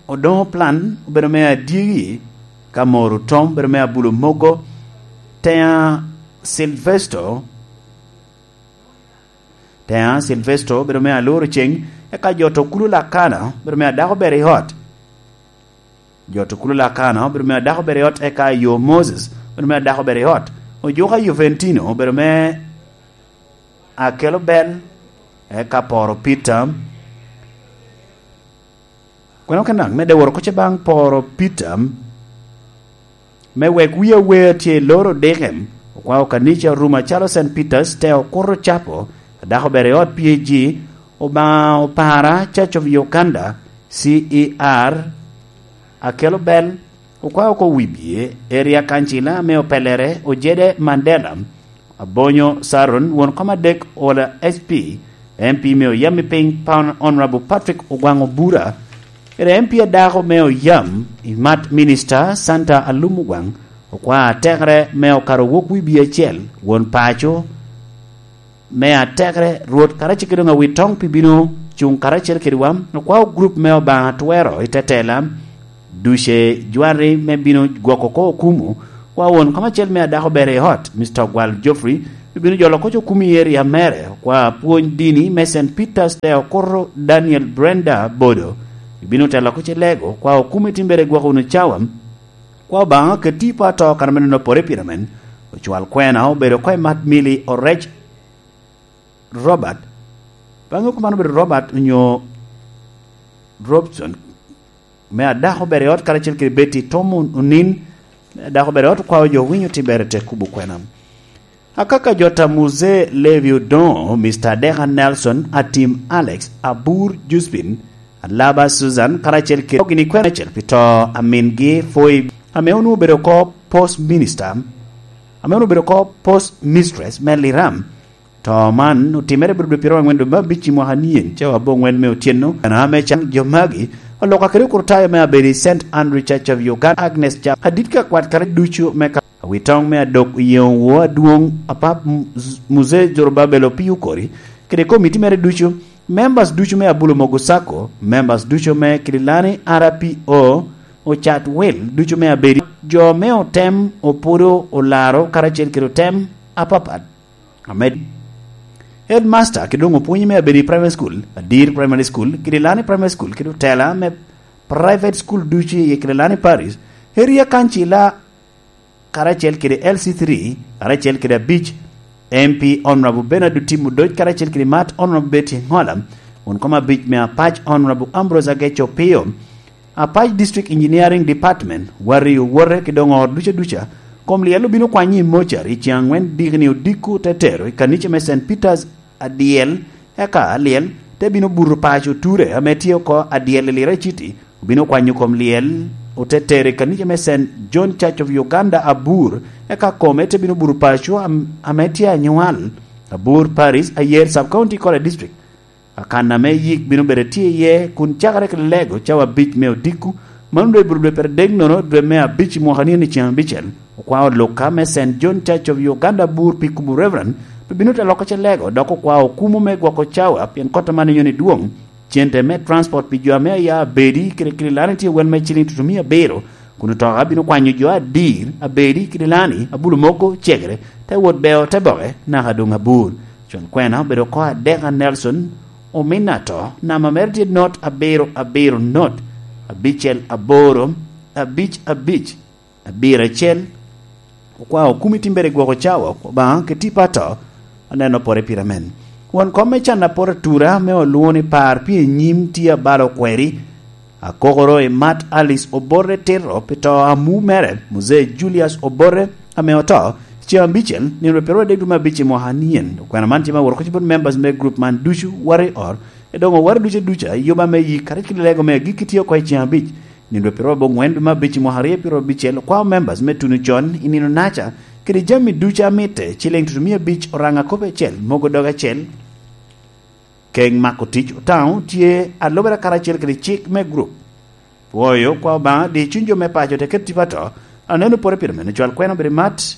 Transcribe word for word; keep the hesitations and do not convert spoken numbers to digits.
Odoŋo Plan obedo me adyegi, ka Moro Tom obedo me Abulo Mogo, Teya Silvesto, Teya Silvesto obedo me Aloro Ceng, eka Jot Okulu Lakana obedo me Adako Ber i Ot. Jot Okulu Lakana obedo me Adako Ber i Ot, eka Yo Moses obedo me Adako Ber i Ot. Ojuka Juventino obedo me Akelo Bel, eka Poro Peter. Kwene okenak medde woro koc baŋ Poro Peter, me wek wi awer tye i loro dikem, okwao kanica orumo acalo Saint Peter's, te okuto capo, Adako Ber i Ot P A G, Obaŋa Opara, Church of Uganda, C E R, Akelo Bel, okwao oko wibye, Area Kancila me Opelere, Ojede Mandela, Abonyo Saron, won kom adek, Ola S P, M P me Oyam i Piny, Pan Honorable Patrick Ogwaŋ Obura, kede M P adako me Oyam i Mat, Minister Santa Alum Ogwaŋ, okwao atekere me Okaro Wok Wibye Acel, won paco, me atekere, Rwot karacel kede doŋ Awitoŋ pi bino cuŋ karacel kedwa, okwao gurup me Obaŋa Twero i tetela, duce jwari me bino gwoko oko okumu, kwa won kom acel me Adako Ber i Ot, Mister Ogwal Geoffrey, pi bino jolo koc okumu i eria mere, kwa pwony dini me Saint Peter's te okuto Daniel Brenda Bodo, pi bino telo koc i lego, kwa okumu i timbere gwoko wunu cawa, kwa Obaŋa keti po ato kan me nono pore pire men, ocwal kwena obedo oko i Mat Mili Orec, Robert, baŋe kuman obedo Robert onyo Robson, me Adako Ber i Ot karacel kede Betty Tom Onin, me Adako Ber i Ot okwao jo winyo timbere te kubo kwena. Akaka Jota Muse Levi Odoŋo, Mister Adeka Nelson, Atim Alex, Abur Juspin, Alaba Susan, karacel kede gini kwena acel pi to a mingi Foi, ame onwoŋo obedo oko post minister, ame onwoŋo obedo oko post mistress me Liram, To man otimere bot dwe pyeraryo aŋwen dwe me abic i mwaka nien, cawa aboŋwen me otyeno. Kana ame can jo magi, oloka kede okurtayo me abedo i Saint Andrew Church of Uganda, Agnes Chap, adit ka kwat kare ducu me ka awitoŋ me adok oyeŋo wo adwoŋ apap Muzee Zorobabel Opiyo Okori, kede komiti mere ducu, members ducu me Abulo Mogo Sacco, members ducu me Kililani R P O, ocat wil ducu me abedo, jo me otem, opudo, olaro, karacel kede otem apapat. Amed. Headmaster kede doŋ opwonyi me abedo i primary school, Adir Primary School, kede Lani Primary School, kede otela me private school ducu i Kililani Parish, Area Council, karacel kede L C three, karacel kede abic, M P Honorable Bernard Otim Odoc, karacel kede Mat Honorable Betty Ngola, won kom abic me apac Honorable Ambrose Ageco Opio, Apac District Engineering Department, wari owote ki doŋ ot duca duca, kom lyel obino kwanyo i mochari i ceŋ aŋwen dikni odiko te tero i kanica me Saint Peter's adyel, eka alyel te bino buto paco ture ame tye oko adyel i Lira City, obino kwanyo kom lyel, ote tero i kanica me Saint John Church of Uganda Abur, eka kome te bino buto paco am-, ame tye anywal, Abur Parish, Ayer Sub-County kore District. Akan ame yik bino bedo tye iye kun cakere ki lego cawa abic me odiko, mano dwe bur dwe pire dek nono dwe me abic i mwaka ni ni ceŋ abicel. Okwao Luka me Saint John Church of Uganda Bur pi kubo Reverend, pe bino te loko ce lego, dok okwao okumu me gwoko cawa, pien kot aman inyoni dwoŋ. Cente me transport pi jo ame aya abedi kede Kililani tye wel me ciling tutumia abiro, kun otoka bino kwanyo jo Adir, abedi, Kililani, Abulo Mogo, Cegere, te wot Beo, te Boke, naka doŋ Abur. Con kwena obedo oko adek a Nelson, Ominato, namba mere tye not abiro abiro not, abicel aboro, abic abic, abiro acel. Okwao kumi timbere gwoko cawa, Obaŋa keti pato, aneno pore pire men. Won kom me can apot atura me olwoŋo ni par pi enyim tye abalo okweri, akokoro i Mat Alice Obote Tito pi to amu mere, Muzee Julius Obote, ame oto, ceŋ abicel, nino piro adek dwe me abic i mwaka anien. Okwena man tye me woro koc bot members me group man ducu, wari or, edoŋo wari ducu duca, yuba me yik, kadi kit lego me agikki tye oko i ceŋ abic. Nino piro aboŋwen dwe me abic i mwaka aryo piro abicel, okwao members me tuno con i nino naca, kede jami ducu amitte, ciling tutumia abic, oraŋa kopi acel, mogo doge acel, Keŋ mako tic Otaŋo tye alubere karacel kede cik me gurup. Pwoyo kwa Obaŋa, di cuny jo me paco te ket tipo ato, aneno pore pire mene cwal kwena obedo i Mat,